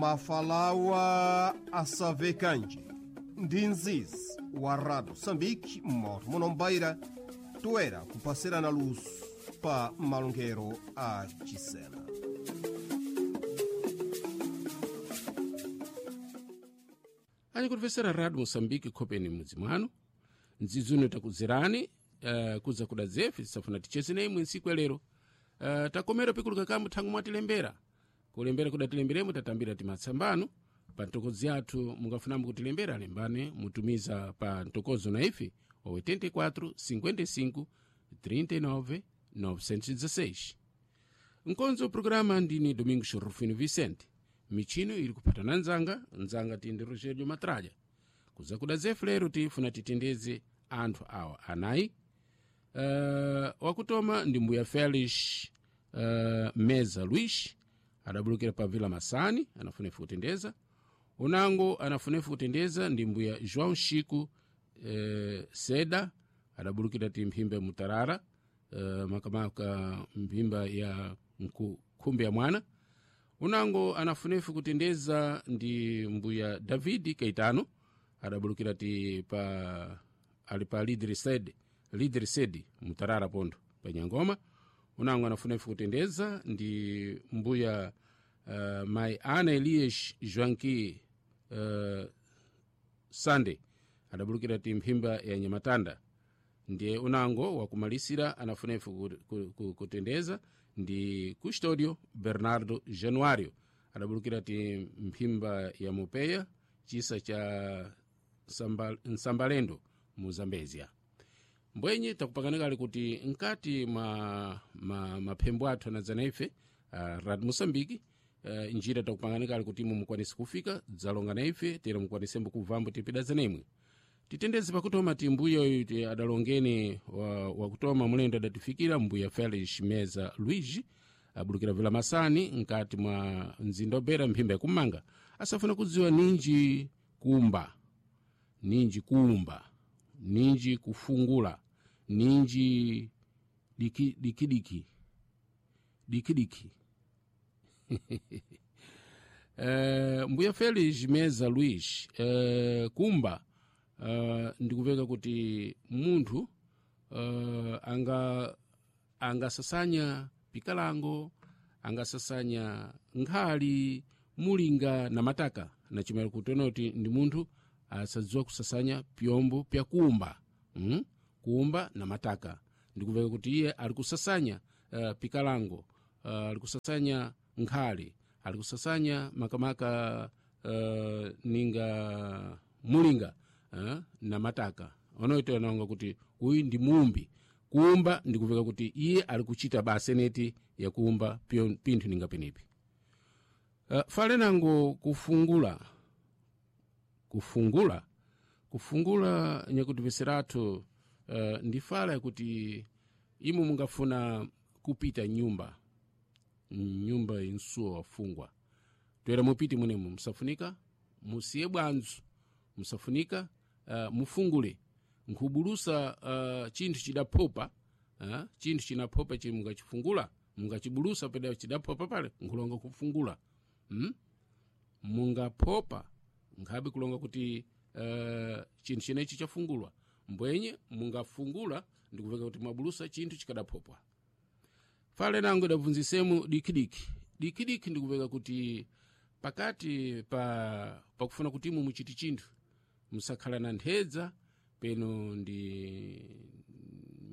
Mafalawa asavekanji ndi nzizi wa Rado Moçambique moto munombaira toera kupasirana luso pa malongero a Chisena. Ani kutifesera Radio Moçambique khopeni mudzi mwanu ndzidzi uno takudzerani kudza kuda dzefe tisafuna ticheze na imwe ntsiku ya lero. Takomera pikuluka kamwe thangwi mwatilembera kulembera kudatilemberemo tatambira timatsambano pa ntokozi yathu. Mungafunamo kutilembera, lembane mutumiza pa ntokozo na ife wa 84 55 39 916. Nkonzo programa ndini Domingos Rufino Vicente, michino ili kuphatana nzanga nzanga tindi Rogelio Matraja. Kuza kuda zefu lero tifuna titendeze anthu awa anayi. Wakutoma ndi mbuya Felix Meza Luis, adabulukira pa Vila Masani, anafunefu kutendeza. Unango anafunefu kutendeza ndi mbuya João Chico Seda, adabulukira ti mphimba ya Mutarara, makamaka mphimba ya nkhumbi ya mwana. Unango anafunefu kutendeza ndi mbuya David Keitano, adabulukira ti pa ali pa Lidre Sed Mutarara pontho pa Nyangoma. Unango anafunefu kutendeza ndi mbuya mai Ana Elias Joanqui Sande, adabulukira ti mphimba ya Nyamatanda. Ndiye unango wakumalisira anafunefu kutendeza ndi Custodio Bernardo Januario, adabulukira ti mphimba ya Mupeya, chisa cha Nsambalendo mu Zambezia. Mbwenye takupanganikale kuti nkati mwa maphembo athu anadzana ife Radio Moçambique, njira takupanganikale kuti imwe mukwanise kufika dzalonga na ife tera mukwanisembo kubvambo tipidazana imwe. Titendeze pakutoma ti mbuya uyu ti adalongeni wakutoma mulendo adatifikira mbuya Felix Meza Luigi, abulukira Vila Masani nkati mwa mzinda obera mphimba yakumanga. Asafuna kudziwa ninji kumba, ninji kuumba, ninji kufungula, ninji dikidiki dikidiki. Mbuya Felix Meza Luis, kumba ndikuveka kuti munthu angasasanya pikalango, angasasanya nkhali, mulinga na mataka, na chimwera kutona kuti ndi munthu asadziwa kusasanya pyombo pyakumba, kuumba na mataka. Ndikuveka kuti iye ali kusasanya pikalango, ali kusasanya nkhali, ali kusasanya makamaka ninga mulinga na mataka. Onoito anaonga kuti uyu ndi muumbi. Kuumba ndikuveka kuti iye ali kuchita baseneti yakuumba pinthu ninga penipi. Fale nango kufungula kufungula nyakutipeseratu ndi fala yakuti imwe mungafuna kupita nyumba insuwa wafungwa toera mupite munemo, musafunika musiye bwanzu, musafunika mufungule nkhubulusa chinthu chidaphopa, chinthu chinaphopa chili mungachifungula, mungachibulusa peda chidaphopa pale nkhulonga kufungula, mungaphopa nkhabe kulonga kuti chinthu chenechi chafungulwa. Mbwenye mungafungula ndikuveka kuti mwabulusa chinthu chikadaphopwa. Fale nango idabvunzisemu dikidiki dikidiki ndikuveka kuti pakati pa pakufuna kuti imwe muchiti chinthu musakhala na nthedza peno ndi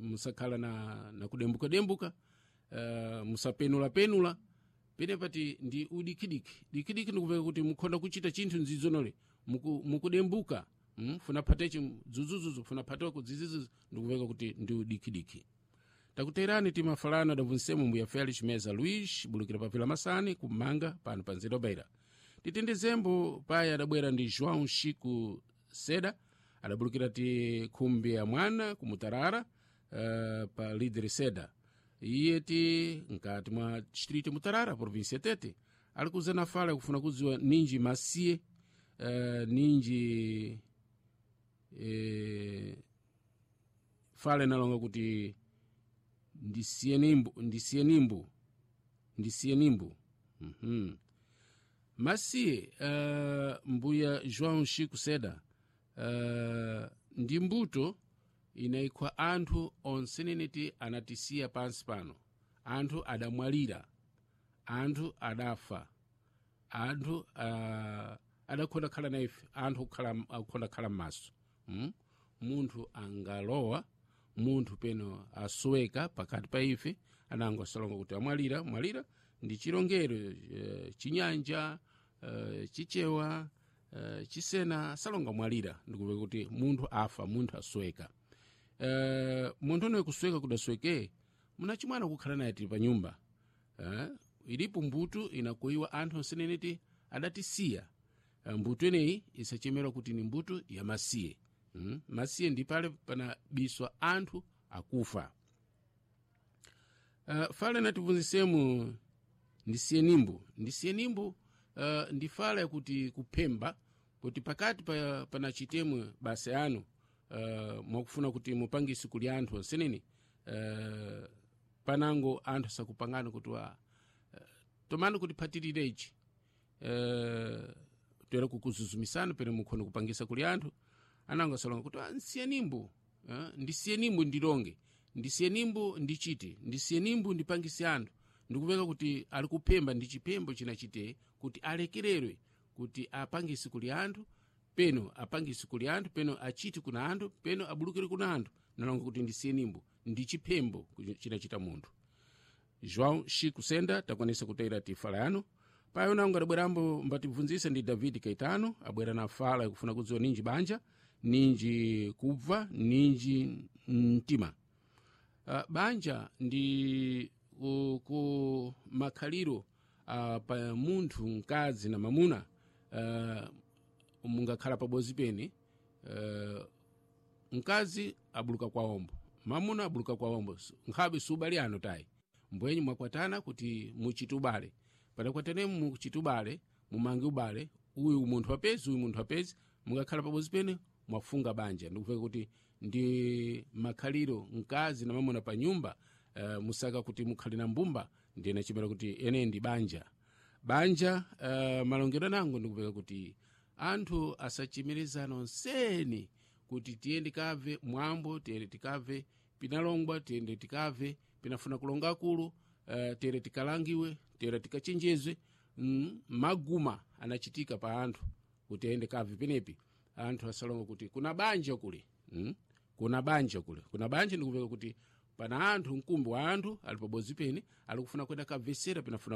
musakhala na kudembuka-dembuka, musapenula-penula pene pati ndi udikidiki dikidiki ndikuveka kuti mukhonda kuchita chinthu ndzidzonole mukudembuka, funa phatechi dzudzudzudzu, funa phateko dzidzidzudzu, ndikuveka kuti ndi udikidiki. Takuterani timafalano adabvunsemo mbuya Felix Meza Luis, bulukira pa Vila Masani kumanga pano pa nzeru Beira. Titendezembo paya adabwera ndi João Chico Seda, adabulukira ti khumbi ya mwana kumutarara, pa Lidre Seda. Iye ti nkati mwa distrito Mutarara, província Tete, ali kuzana fala kufuna kudziwa ninji masiye, ninji fala inalonga kuti ndisiye nimbu. Masiye mbuya João Chico Seda ndi mbuto inayikhwa anthu onseneneti anatisiya pansi pano. Anthu adamwalira, anthu adafa, anthu adakhonda khala na ife, anthu akukhonda khala m'maso. Munthu angalowa, munthu peno asoweka pakati pa ife, anango asalonga kuti amwalira. Mwalira ndi chilongero chinyanja, chichewa, chisena asalonga mwalira, ndikupeka kuti munthu afa, munthu asoweka. Munthu unoyo kusweka kudasweke munachimwana kukhala naye tili pa nyumba. Ilipo mbuto inakuiwa anthu onseneneti adatisiya. Mbuto ineyi isachemerwa kuti ni mbuto ya masiye. Masiye ndi pale panabiswa anthu akufa. Fala inatibvunzisemu ndisiye nimbo, ndisiye nimbo ndi fala yakuti kuphemba kuti pakati panachitemwe basa yanu mwakufuna kuti mupangise kuli anthu onsenene panango anthu asakupangana kuti tomani kuti phatirire ichi toera kukuzuzumisana pene mukhona kupangisa kuli anthu anango asalonga kuti nsiye nimbo, ndisiye nimbo ndilonge, ndisiye nimbo ndichite, ndisiye nimbo ndipangise anthu. Ndikupeka kuti ali kuphemba ndi chiphembo chinachite kuti alekererwe kuti apangise kuli anthu, peno apangise kuli anthu, peno achite kuna anthu, peno abulukire kuna anthu. Nalonga kuti ndisiye nimbo ndi chiphembo chinachita munthu. João Chico Senda takwanisa kutera tifala yanu payo nango adabwerambo mbatibvunzise ndi David Caetano, abwera na fala yakufuna kudziwa ninji banja, ninji kubva, ninji mtima. Banja ndi ku makhaliro pa munthu mkazi na mamuna mungakhala pabodzi pene mkazi abuluka kwa ombo, mamuna abuluka kwa ombo, nkhabe subali ano tayi mbwenyi mwakwatana kuti muchite ubale, padakwatane muchite ubale, mumange ubale, uyu munthu apezi, uyu munthu apezi, mungakhala pabodzi pene mwafunga banja. Ndikupeka kuti ndi makhaliro mkazi na mamuna pa nyumba musaka kuti mukhale na mbumba, ndiye nachimera kuti ene ndi banja. Banja malongedwe nango ndikupeka kuti anthu asachimirezana onseni kuti tiyende tikabve mwambo, tiyende tikabve pinalongwa, tiyende tikabve pinafuna kulonga akulu, tere tikalangiwe, tere tikachenjezwe. Maguma anachitika pa anthu kuti ayende kabve penepi anthu asalonga kuti kuna banja kule, kuna banja kule, kuna banja. Ndikupeka kuti pana anthu mkumbi wa anthu ali pabodzi pene ali kufuna kwenda kabvesera pinafuna.